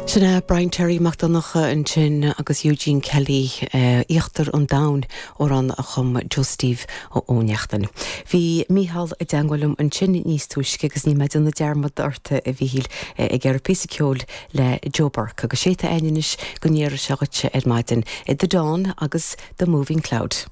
Sin é Brian Terry Mac Donncha ansin agus Eugene Kelly, Íochtar an Domhain, amhrán a chum Joe Steve Ó Neachtain. Bhí Mícheál i dteangmháil liom ansin níos túisce agus níl mé ag déanamh dearmad ort, a Mhíchíl, ag iarraidh píosa ceoil le Joe Burke agus sé atá againn anois go n-iarrfaidh sé dhuitse ar maidin, The Dawn agus The Moving Cloud.